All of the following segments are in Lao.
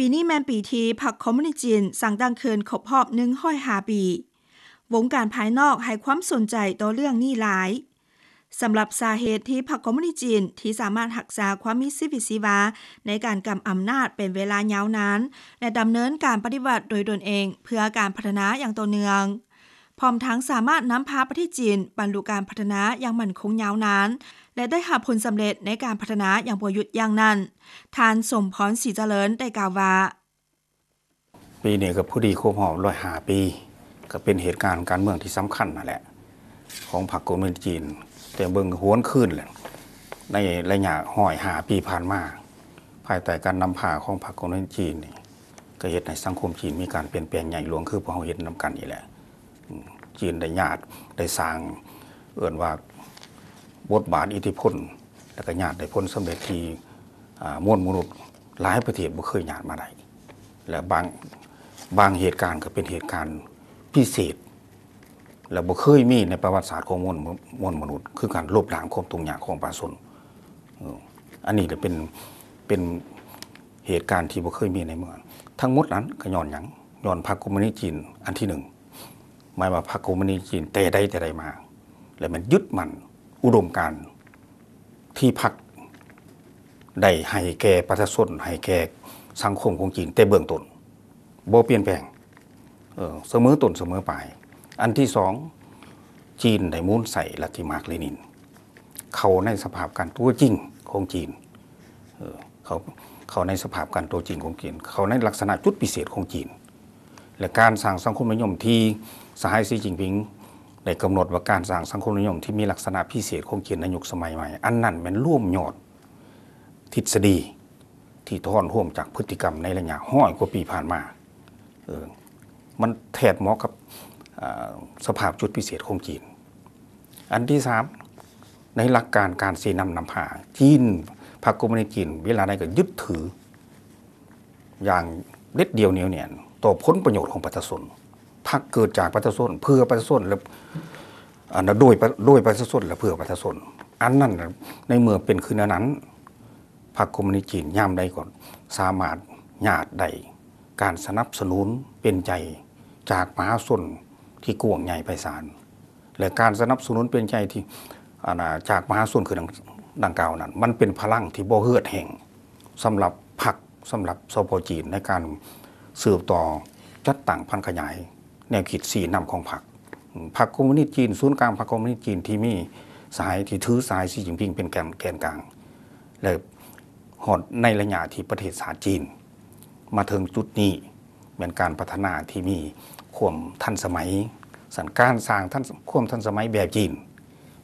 ປີນີ້ແມ່ນປີທີ່ພັກຄອມມູນິດຈີນສ້າງຕັ້ງຂຶ້ນຄົບຮອບໜຶ່ງຮ້ອຍຫ້າປີ. ວົງການພາຍນອກໃຫ້ຄວາມສົນໃຈຕໍ່ເລື່ອງນີ້ຫຼາຍ. ສຳລັບສາເຫດທີ່ພັກຄອມມູນິດຈີນທີ່ສາມາດຮັກສາຄວາມມີຊີວິດຊີວາໃນການກຳອຳນາດເປັນເວລາຍາວນານ ແລະ ດຳເນີນການປະຕິວັດໂດຍຕົນເອງເພື່ອການພັດທະນາຢ່າງຕໍ່ເນື່ອງ, ພ້ອມທັງສາມາດນຳພາປະເທດຈີນບັນລຸການພັດທະນາຢ່າງໝັ້ນຄົງຍາວນານ ແລະ ໄດ້ຮັບຜົນສຳເລັດໃນການພັດທະນາຢ່າງບໍ່ຢຸດຢັ້ງນັ້ນ, ທ່ານ ສົມພອນ ສີຈະເລີນ ໄດ້ກ່າວວ່າ. ປີນີ້ກໍພໍດີຄົບຮອບຮ້ອຍຫ້າປີ, ກໍເປັນເຫດການການເມືອງທີ່ສຳຄັນນັ້ນແຫຼະ ຂອງພັກຄອມມູນິດຈີນ, ແຕ່ເບິ່ງຫວນຄືນແຫຼະ ໃນໄລຍະຮ້ອຍຫ້າປີຜ່ານມາ, ພາຍໃຕ້ການນຳພາຂອງພັກຄອມມູນິດຈີນນີ້ ກໍເຮັດໃຫ້ສັງຄົມຈີນມີການປ່ຽນແປງໃຫຍ່ຫຼວງ ຄືພວກເຮົາເຫັນນຳກັນນີ້ແຫຼະ. ອືມ ຈີນໄດ້ຍາດ ໄດ້ສ້າງ ເອີ້ນວ່າບົດບາດອິດທິພົນ ແລ້ວກໍຍາດໄດ້ຜົນສຳເລັດທີ່ ອາ ມວນມະນຸດຫຼາຍປະເທດບໍ່ເຄີຍຍາດມາໄດ້ ແລະ ບາງ ບາງເຫດການກໍເປັນເຫດການພິເສດ ແລະ ບໍ່ເຄີຍມີໃນປະຫວັດສາດຂອງມວນ ມວນມະນຸດ ຄືການລົບລ້າງຄວາມທຸກຍາກຂອງປະຊາຊົນ. ເອີ ອັນນີ້ລະເປັນ ເປັນເຫດການທີ່ບໍ່ເຄີຍມີໃນເມືອງ. ທັງໝົດນັ້ນກໍຍ້ອນຫຍັງ? ຍ້ອນພັກຄອມມູນິດຈີນອັນທີໜຶ່ງ ໝາຍວ່າພັກຄອມມູນິດຈີນແຕ່ໃດແຕ່ໃດມາ ແລະ ແມ່ນຍຶດໝັ້ນອຸດົມການທີ່ພັກໄດ້ໃຫ້ແກ່ປະຊາຊົນ, ໃຫ້ແກ່ສັງຄົມຂອງຈີນແຕ່ເບື້ອງຕົ້ນ ບໍ່ປ່ຽນແປງ ເອີ ສະເໝີຕົ້ນສະເໝີປາຍ. ອັນທີສອງ ຈີນໄດ້ໝູນໃຊ້ລັດທິມາກເລນິນ ເຂົ້າໃນສະພາບການຕົວຈິງຂອງຈີນ ເອີ ເຂົ້າ ເຂົ້າໃນສະພາບການຕົວຈິງຂອງຈີນ, ເຂົ້າໃນລັກສະນະຈຸດພິເສດຂອງຈີນ ແລະ ການສ້າງສັງຄົມນິຍົມທີ່ສະຫາຍ ສີ ຈິ້ນຜິງ ໄດ້ກຳນົດວ່າ ການສ້າງສັງຄົມນິຍົມທີ່ມີລັກສະນະພິເສດຂອງຈີນໃນຍຸກສະໄໝໃໝ່, ອັນນັ້ນແມ່ນລວມຍອດທິດສະດີທີ່ຖອນໂຮມຈາກພຶດຕິກຳໃນໄລຍະຮ້ອຍກວ່າປີຜ່ານມາ. ເອີ ມັນແທດເໝາະກັບ ອາ ສະພາບຈຸດພິເສດຂອງຈີນ. ອັນທີສາມ ໃນຫຼັກການການຊີ້ນຳນຳພາ, ຈີນ ພັກຄອມມູນິດຈີນເວລາໃດກໍຍຶດຖືຢ່າງເດັດດ່ຽວໜຽວແໜ້ນຕໍ່ຜົນປະໂຫຍດຂອງປະຊາຊົນ. ພັກເກີດຈາກປະຊາຊົນ, ເພື່ອປະຊາຊົນ ແລະ ອັນ ໂດຍ ໂດຍປະຊາຊົນ ແລະ ເພື່ອປະຊາຊົນ. ອັນນັ້ນ ໃນເມື່ອເປັນຄືແນວນັ້ນ, ພັກຄອມມູນິດຈີນຍາມໃດກໍສາມາດຍາດໄດ້ການສະໜັບສະໜູນເປັນໃຈຈາກມະຫາຊົນທີ່ກວ້າງໃຫຍ່ໄພສານ ແລະ ການສະໜັບສະໜູນເປັນໃຈທີ່ ອັນ ຈາກມະຫາຊົນຄືດັ່ງ ດັ່ງກ່າວນັ້ນ ມັນເປັນພະລັງທີ່ບໍ່ເຫືອດແຫ້ງສຳລັບພັກ ສຳລັບ ສປ ຈີນ ໃນການສືບຕໍ່ຈັດຕັ້ງຜັນຂະຫຍາຍແນວຄິດຊີ້ນຳຂອງພັກ. ພັກຄອມມູນິດຈີນ ສູນກາງພັກຄອມມູນິດຈີນທີ່ມີສາຍ ທີ່ຖືສາຍ ສີ ຈິ້ນຜິງ ເປັນແກນ ແກນກາງ ແລະ ຮອດໃນໄລຍະທີ່ປະເທດຊາດຈີນມາເຖິງຈຸດນີ້ ແມ່ນການພັດທະນາທີ່ມີຄວາມທັນສະໄໝ. ສະນັ້ນ ການສ້າງທັນ ຄວາມທັນສະໄໝແບບຈີນ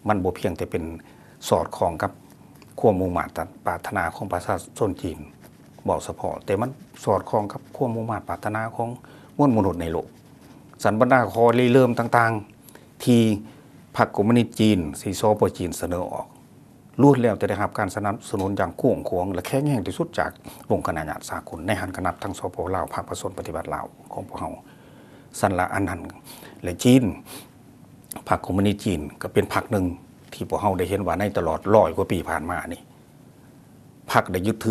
ມັນບໍ່ພຽງແຕ່ເປັນສອດຄ່ອງກັບຄວາມມຸ່ງມາດປາດຖະໜາຂອງປະຊາຊົນຈີນເວົ້າສະເພາະ, ແຕ່ມັນສອດຄ່ອງກັບຄວາມມຸ່ງມາດປາດຖະໜາຂອງມວນມະນຸດໃນໂລກ. ສະນັ້ນ ບັນດາຂໍ້ລິເລີ່ມຕ່າງໆ ທີ່ພັກຄອມມູນິດຈີນ ທີ່ ສປ ຈີນ ສະເໜີອອກ ລ້ວນແລ້ວແຕ່ໄດ້ຮັບການສະໜັບສະໜູນຢ່າງກວ້າງຂວາງ ແລະ ແຂງແຮງທີ່ສຸດຈາກອົງຄະນະຍາດສາກົນ, ໃນຫັ້ນກໍນັບທັງ ສປ ລາວ, ພັກປະຊາຊົນປະຕິວັດລາວຂອງພວກເຮົາ. ຊັ້ນລະ ອັນນັ້ນ ແລະ ຈີນ, ພັກຄອມມູນິດຈີນກໍເປັນພັກໜຶ່ງທີ່ພວກເຮົາໄດ້ເຫັນວ່າໃນຕະຫຼອດຮ້ອຍກວ່າປີຜ່ານມານີ້ ພັກໄດ້ຍຶດຖື